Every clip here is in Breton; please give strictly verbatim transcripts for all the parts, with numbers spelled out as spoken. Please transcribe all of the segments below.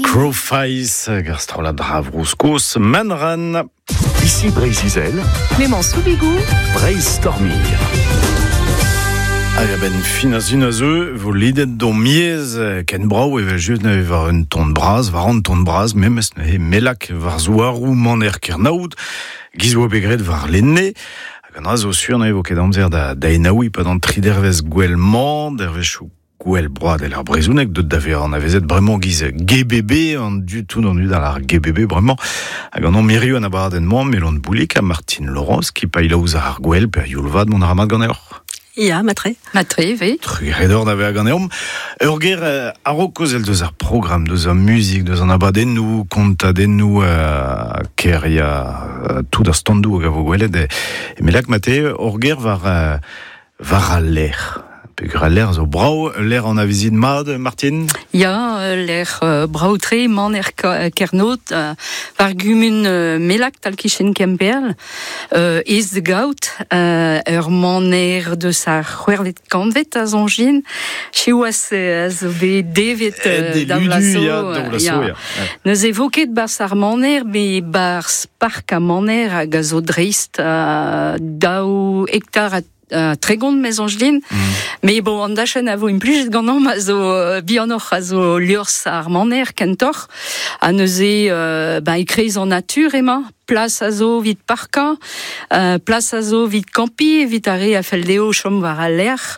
Crowface, gar strollad Dravrouskos, Manran. Ici Breizh-Izel, Clément Soubigou, Breizh Stormir. Hag a-benn fin a zun a zeu, vo lidet d'on miez ken brao evel just neuze war un ton braz, war an ton braz, memes neuze melak war zouarou maner kernaout, giz oa begret war lenne, hag an dra zo sur neuze vo ket amzer da, da enaoui pa d'an tri dervez gwell-mañ, dervezhioù gwell broad el ar brezhoneg, deut da vezañ an avezet bremañ giz G B B, an du tout an dud ar G B B bremañ, hag an an miriou an abadenn-mañ, Melon Boulik ha Martine Laurence, ki pailha ouzh ar gwell per youlvad mont ar mat ganeoc'h. Ya, matre. Matre, oui. Trugaredor da vezañ ganeomp. Ur ger euh, a-raok kaozel deus ar programm, deus ar muzik, deus an abadennoù, kontadennoù, euh, ker ya euh, tout ar standoù hag a vo gwelet. E, e melak mate, ur ger war, euh, war al lec'h. Peogwir al lec'h zo brav, lec'h an avezit mat, Martine? Ya, lec'h euh, brav-tre, maner ka-, Kernot, euh, war gumun, euh, Melak, tal kichen Kemperl, euh, ez de gaout, euh, ur maner deus ar c'hwec'hvet kantved a zonjin, siwazh, euh, a zo bet devet, euh, Eh, da ludu, blaso, ya, euh, da blaso, ya. ya. Neuze vo ket barzh ar maner, me barzh park a maner hag a zo dreist, euh, daou hektar a Euh, tregont mez angelin. Mm. Mais bon, an dachenn a vo implijet ganeomp a zo, euh, bihanoc'h a zo liorzh ar maner kentoc'h. Ha neuze, euh, ben, e kreiz an natur emañ, plas a zo evit parkañ, euh, plas a zo evit kampi, evit ar re a fell dezho chom war al lec'h,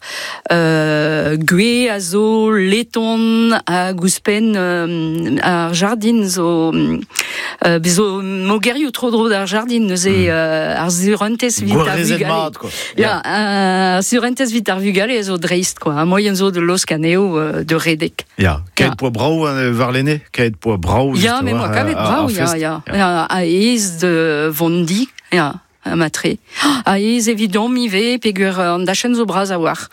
euh, gwez a zo leton hag ouzhpenn, euh, ar jardin zo, euh, bezo mogerioù tro-dro d'ar jardin, neuze, Mm. euh, ar surentez evit ar Gwarezet vugale. mat, quoi. Ya, ar surentez evit ar vugale a zo dreist, quoi. Ar moyen zo de laosk anezho, euh, de redek. Ya, kaet Ya. poa brav, euh, warlene, kaet poa brav, Ya, just mais moi, war, kavet euh, brav, ar ya, fest. ya. Ya. Ya, a ez de vondi, ya, a matre. A ez evidom ivez, peogwir an dachenn zo bras a-walc'h.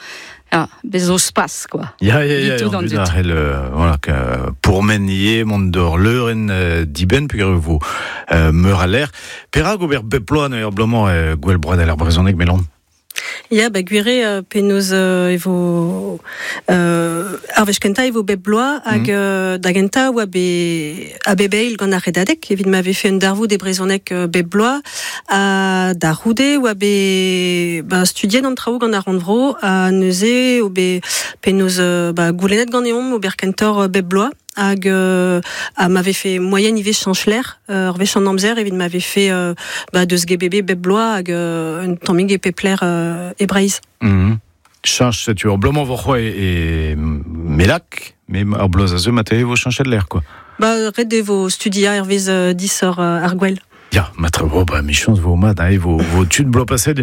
Ya, bez zo spas, quoi. Ya, ya, ya, Ditou an d'an dud dud. a c'hell, euh, voilà, que, pourmen ivez, mont d'ur leurenn, euh, dibenn, peogwir vo, euh, meur a lec'h. Perak ober bep bloaz neuze ur bloaz-mañ, euh, gwell broad ar brezhoneg, Melon? Ya, ba, gwir eo, euh, penaos, euh, e vo, euh, ar wech kentañ e vo bep bloaz hag, Mm. euh, da gentañ oa be, a bep eil gant ar Redadeg, evit ma vefe un darvoud e brezhoneg, euh, bep bloaz, ha da c'houde oa be, ba, studiet an traoù gant ar rannvro, ha neuze o be penaos, euh, ba, goulennet ganeomp ober kentoc'h, euh, bep bloaz, hag, euh, ha ma vefe moyen ivez chañch lec'h, euh, ur wech an amzer evit ma vefe, euh, ba, deus G B B bep bloaz hag, euh, un tammig e pep lec'h, euh, e Breizh. Mhm. Chañch, setu ur bloaz-mañ vo c'hoazh e, e Melak, mais ar bloaz a zeu ma vo chañchet lec'h, quoi. Ba, ret eo vo studiañ hervez, euh, disoc'h, euh, ar gwell. Ya, matre, bo, ba, michañs vo mat, hein, vo, vo tud bloaz paset.